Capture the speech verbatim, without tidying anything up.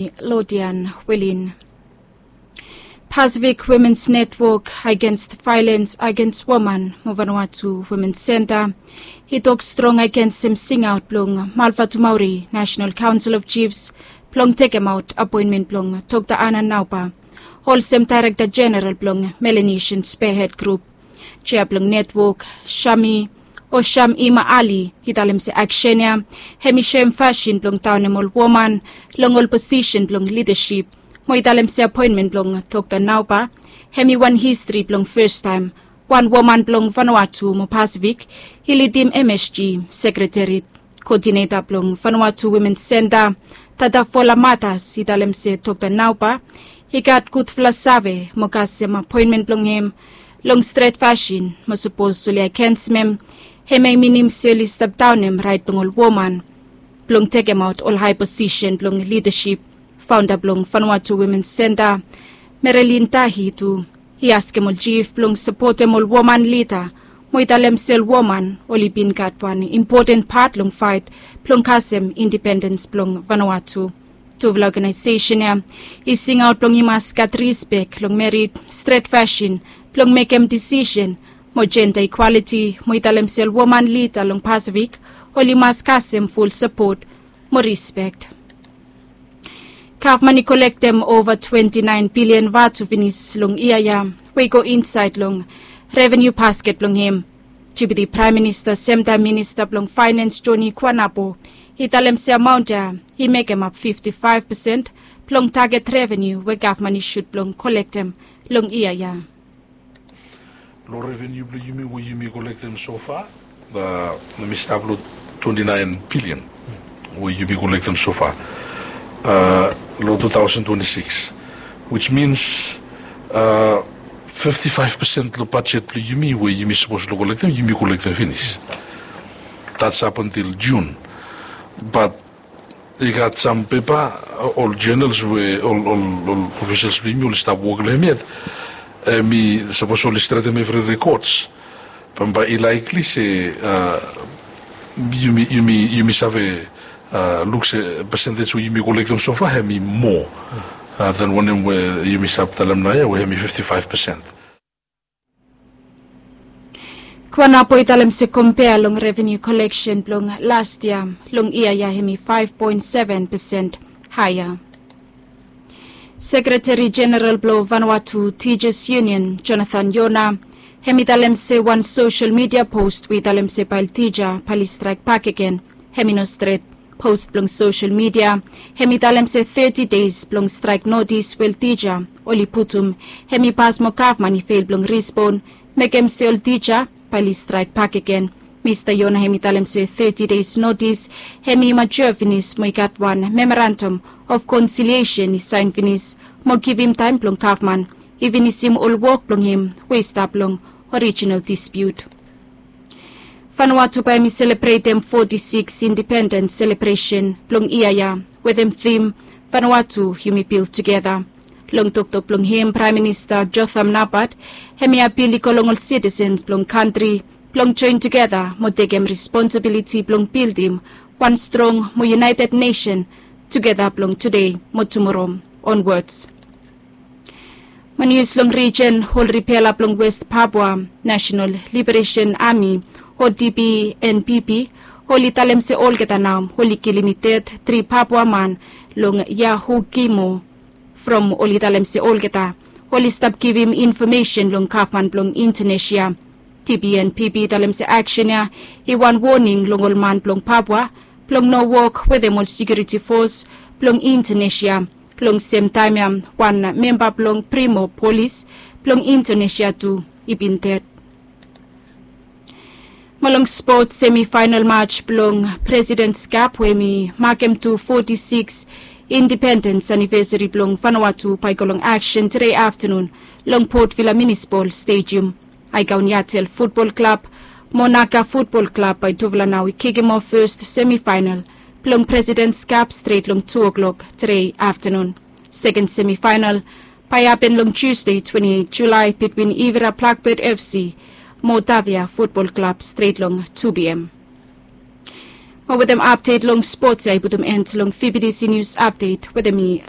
Lodian Welin. Pacific Women's Network Against Violence Against Woman mo Vanuatu Women's Center i tok strong agensem singaot blong Malvatumauri National Council of Chiefs blong tekemaot apoenmen blong Dr Anna Nauba olsem Daerekta Jeneral blong Melanesian Spearhead Group. Jea blong netwok Shami o Sham Ima Ali i talem se aksen ya hem i soem fasin blong daonem ol woman long ol posisen blong lidasip. Mo i talem se apoenmen blong Dr Nauba hem i wan histri blong fastaem wan woman blong Vanuatu mo Pasifik i lidim MSG sekreteri. Koodineta blong Vanuatu Women's Center, Tata Fola Matas i talem se Dr Nauba i gat gudfala save mo kasem apoenmen blong hem long stret fasin mo sapos oli agensem hem, hem i minim se oli stap daonem raet blong ol woman blong tekemaot ol hae posisen blong lidasip. Faonda blong Vanuatu Women's Center, Merelin Tahi tu i askem ol jif blong sapotem ol woman lida mo i talem se ol woman oli bin gat wan impoten pat long faet blong kasem indipendens blong Vanuatu. Tufala ogenaesesen ya i singaot blong i mas gat rispek long merit stret fasin blong mekem disisen mo jenda ikwaliti mo i talem se ol woman lida long Pasifik oli mas kasem ful sapot mo rispek. Gavman i kolektem ova twenti naen bilian vatu finis long yia ya we i go insaed long revenu basket blong hem. Deputi Praem Minista semtaem Minista blong Faenens Joni Kuanapo i talem se amaon ya i mekemap fifti faef pesen blong taget revenu we gavman i sut blong kolektem long yia ya. Long revenu blong yumi we yumi kolektem sofa, mi stap long twenti naen bilian we yumi kolektem sofa long tu taosen twenti sikis, wis mins fifti faef pesen long bajet blong yumi we yumi sapos long kolektem yumi kolektem finis. Dats ap antil Jun. Bat i gat sam pepa, ol jenels we ol ofisels blong yumi oli stap wok long hem yet, hem i sapos oli stretem evri rekods. Bambae i laikli se yumi save luk se pesentej we yumi kolektem sofa hem i moa dan wanem we yumi save talem naoia we hem i fifti faef pesen. Kuanapo i talem se kompea long revenu koleksen blong las yia long yia ya hem i faef poen seven pesen haea. Sekreteri Jeneral blong Vanuatu Tijas Yunion Jonathan Yona hem i talem se wan sosel midia pos we i talem se bae ol tija bae oli straek bakegen hem i no stret. Pos blong sosel midia hem i talem se teti deis blong straek notis we ol tija oli putum hem i pas mo gavman i fel blong rispon mekem se ol tija bae oli straek bakegen. Mista Yona hem i talem se teti deis notis hem i matua finis mo i gat wan memorandam of konsiliesen i saen finis mo givim taem blong gavman i finisim ol wok blong hem we i stap long orijinal dispiut. Vanuatu bae hem i selebretem foti sikis indipendens selebresen blong yia ya wetem tim Vanuatu yumi bil tugeta. Long toktok blong hem Praem Minista Jotham Napat hem i apil i go long ol sitisens blong kantri blong joen tugeta mo tekem responsabiliti blong bildim wan strong mo yunaeted nesen tugeta blong tude mo tumoro onwods. Mo nius long rijen, ol ripela blong West Papua Nasenal Liberesen Ami o DPNPP oli talem se olgeta nao oli kilim i ded tri Papua man long Yahukimo from oli talem se olgeta oli stap givim infomesen long gavman blong Indonesia. DPNPP i talem se aksen ya i wan woning long ol man blong Papua blong no wok wetem ol sekiuriti fos blong Indonesia. Long semtaem ya wan memba blong Brimob polis blong Indonesia tu i bin ded. Mo long spot, semifaenal maj blong Presidents Cup we hem i makem tu foti sikis indipendens anivesari blong Vanuatu bae i go long aksen tede aftanun long Port Vila Munisipal Stadium. Aekaun Yatel Futbol Klab mo Naga Futbol Klab bae tufala nao i kikim of fes semifaenal blong Presidents Cup stret long tu oklok tede aftanun. Seken semifaenal bae i hapen long Tusde twenti eit Julae bitwin Ivira Blackbird FC mo Tavia Futbol Klab stret long tu pm. Mo wetem apdet long spots ya i putum end long fibidisi nius apdet wetem mi.